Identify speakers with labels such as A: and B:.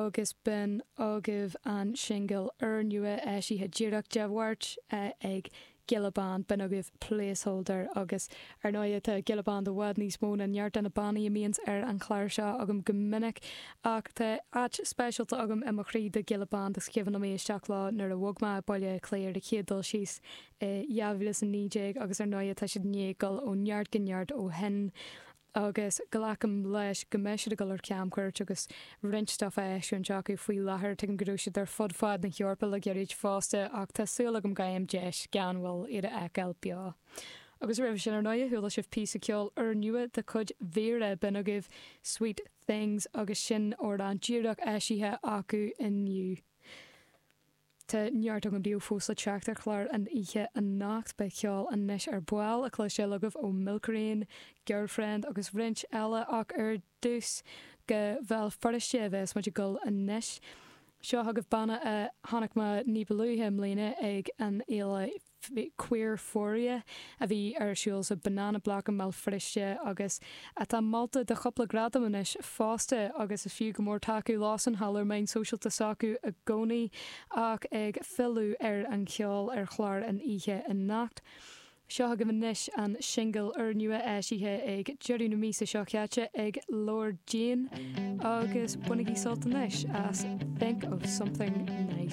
A: Agus b'in agaibh an singil úrnua eisithe díreach Dé Mháirt ag Giolla Bán. B'in agaibh Placeholder agus ar ndóighe tá Giolla Bán i bhfad níos mó ná neart de na bannaí a mbíonns ar an chlár seo agam go minic ach tá áit speisialta agam i mo chroí do Ghiolla Bán is cuimhin liom éisteacht leo nuair a bhog mé Baile Átha Cliath ar an chéad dul síos i 2019 agus ar ndóighe tá siad i ndiaidh dul ó neart go neart ó shin. agus glacaim leis go mbeidh siad ag dul ar camchuairt agus roinnt stuff á eisiúint acu faoi láthair. Tuigim go raibh siad ar fud fad na hEorpa le gairid fosta ach tá súil agam go bhfaighim deis gan mhoill iad a fheiceáil beo. Agus roimhe sin ar ndóighe chuala sibh píosa ceoil úrnua de chuid Vera, b'in agaibh Sweet Things agus sin amhrán díreach eisithe acu inniu. Tá neart agam daoibh fós le teacht ar chlár an oíche anocht. Beidh ceol anois ar ball le cloisteáil agaibh ó Milk Rain, Girlfriend agus roinnt eile ach ar dtús go Bhéal Feirste a bheas muid ag dul anois. Seo chugaibh banna a chonaic mé ní ba luaithe i mbliana ag an fhéile Queerphoria a bhí ar siúl sa Banana Block i mBéal Feirste agus atá molta do chúpla gradam anois fosta agus is fiú go mór tacú leosan thall ar meáin sóisialta s'acu i gcónaí ach ag filleadh ar an cheol ar chlár an oíche anocht. Seo chugaibh anois an singil úrnua eisithe ag deireadh na míosa seo caite ag Lord Jane agus bainigí sult anois as Think of Something Nice.